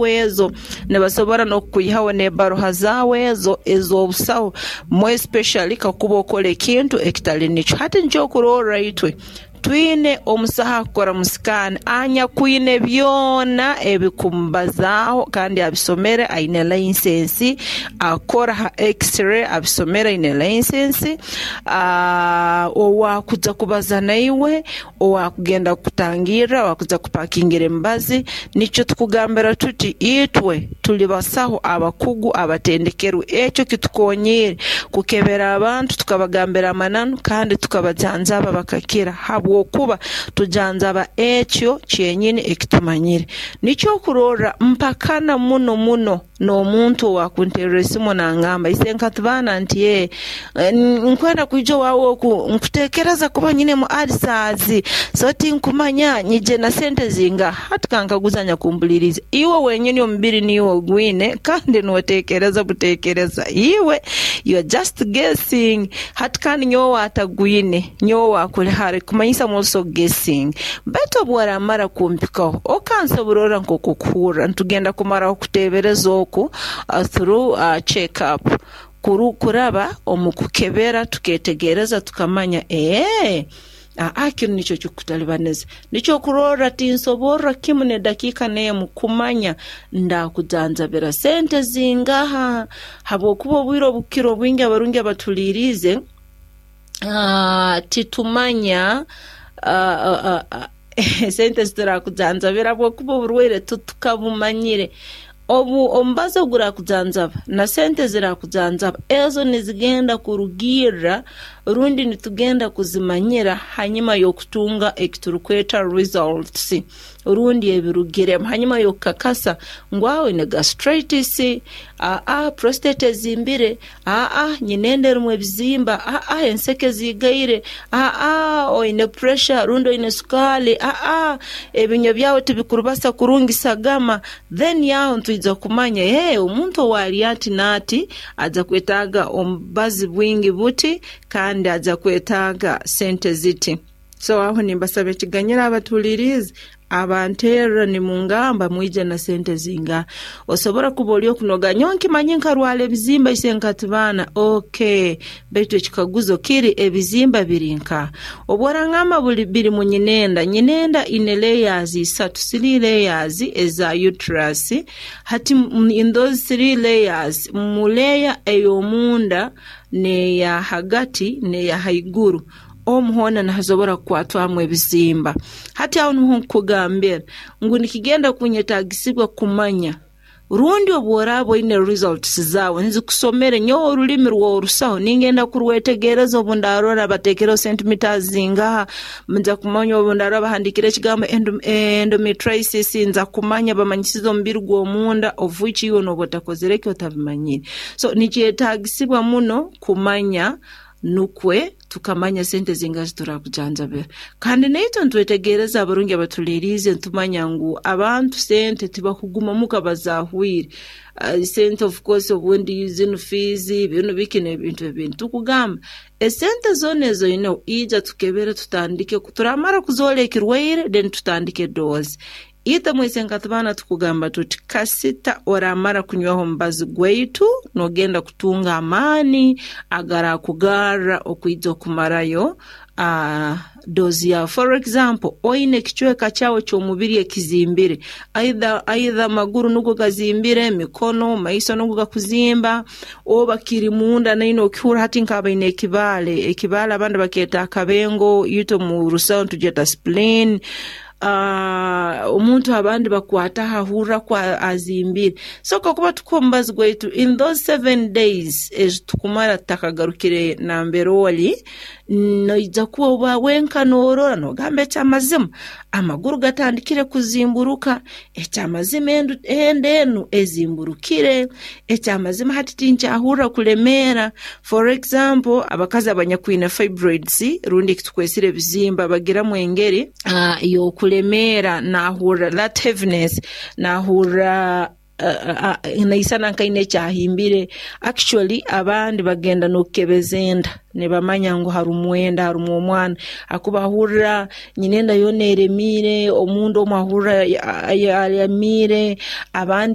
Ezo nibasobora n'okukwihaho n'ebbaruha zaawe ezo ez'obusaho, more especially kakuba okora ekintu ekitali nikyo. Hati nikyo okurorra itwe twine omusaho akukora mu sikaani anyakwine byona ebikumubazaaho kandi abisomere aine laisensi, akora ha X-ray abisomere aine laisensi, owaakuja kubaza naiwe, owaakugenda kukutangirra, owaakuja kupakingira emibazi. Nikyo tukugambira tuti itwe tuli basaho abakugu abatendekerwe. Ekyo kitukoonyiire kukebera abantu tukabagambira amananu kandi tukabajanjaba bakakira habwokuba tujanjaba ekyo kyenyini eki tumanyire. Nikyo okurorra mpakana muno muno n'omuntu owaakunterra esimu nangamba, Isenkatibaana nti ee, nkwenda kwija owaawe oku nkuteekereza kuba nyinemu ulcers, so tinkumanya nyije na sente zingaha? Hati kankaguza anyakumpuliriize, iwe wenyini omubiri niiwe ogwine kandi nooteekereza buteekereza, iwe you are just guessing. Hati kandi nyowe owaatagwine, nyowe owaakuli hara, ekikumanyisa am also guessing. Baitu obu oraamara kumpikaho okansobororra nk'oku okuhurra, nitugenda kumaraho kuteebereza oku through check up, kuraba omu kukebera tukeetegereza tukamanya ee aa kinu nikyo kikukutalibaniza. Nikyo okurorra tinsoborra kimu n'edakiika n'emu kumanya ndaakujanjabira sente zingaha habwokuba obwire obukukira obwingi abarungi abatuliiriize titumanya sente ezi turakujanjabira habwokuba oburwaire titukabumanyire. Obu omubazi ogurakujanjaba na sente ezirakujanjaba ezo nizigenda kurugirra rundi nitugenda kuzimanyira hanyuma y'okutunga eki turukweta results rundi ebirugiremu hanyuma y'okukakasa ngu aah oine gastritis, aah prostate ezimbire, Aa, nyine enda erimu ebizimba, aa, enseke ziigaire, aa, oine puresha rundi oine sukaali, aa, ebinywa byawe tibikurubasa kurungi sagama, then aho nitwija kumanya ee omuntu owaali ati n'ati aja kwetaaga omubazi bwingi buti kandi aja kwetaaga sente ziti. So aho nimbasaba ekiganyiro abatuhuliriize abanterra nimungamba mwije na sente zingaha. Osobora kuba oli okunoga nyowe nkimanyi nkarwara ebizimba ise nkatibaana ok baitu ekikaguzo kiri ebizimba biri nkaha? Obu orangamba buli biri mu nyinenda, nyinenda ine layers isatu, three layers eza uterus, hati in those three layers mu layer ey'omunda n'eya hagati n'eya haiguru Omu hoona nihasobora kukwatwamu ebizimba. Hati aho nuho nkukugambira ngu nikigenda kunyetaagisibwa kumanya rundi obu oraaba oine results zaawe nzikusomere. Nyowe orulimi rw'orusaho ningenda kurwetegereza obu ndarora bateekereho centimeters zingaha, nja kumanya obu ndarora bahandiikire ekigambo endometriosis nja kumanya bamanyisize omubiri gw'omunda of which iwe nooba otakozere ki otabimanyire. So nikyetaagisibwa muno kumanya Nukwe tukamanya sente zingaha eziturakujanjabira. Kandi naitwe nitwetegereza abarungi abatuliiriize nitumanya ngu abantu sente tibakuguma muka bazahwire. Sente of course obundi zinu fiizi, binu biki n'ebintu ebindi. Tukugamba esente zoona ezoineho ija tukebere tutandike, turamara kuzoora ekirwaire then tutandike doozi. Itwe mwise nkatubaana tukugamba tuti, Kasita oramara kunywaho omubazi gwaitu, nogenda kutunga amaani agarakugarra okwija okumarayo doozi yaawe. For example, oine ekicweka kyawe eky'omubiri ekizimbire, either either amaguru nugo gazimbire, emikono, maiso nugo gakuzimba, oba kiri munda naine okihurra hati nk'abaine ekibaale, ekibaale abandi bakyeta akabengo, itwe omu Rusaho nitugyeta spleen. Omuntu abandi bakwataho ahurra ku azimbire. So kakuba tukuha omubazi gwaitu in those 7 days ezi tukumara tutakagarukire nambere oli, noija kuba oba wenka norora nogamba eky'amazima amaguru gatandikire kuzimburuka, eky'amazima enda enu ezimburukire, eky'amazima hati tinkyahurra kulemeera. For example, abakazi abanyakwine fibroids rundi ekitukwesire ebizimba bagiramu engeri y'okulemeera nahurra that heaviness, nahurra. Naisana nkaine ekyahimbire. Actually, abandi bagenda n'okukebeza enda nibamanya ngu harumu enda, harumu omwana, hakuba ahurra nyina enda yoona eremiire, omunda omu ahurra alemiire abandi.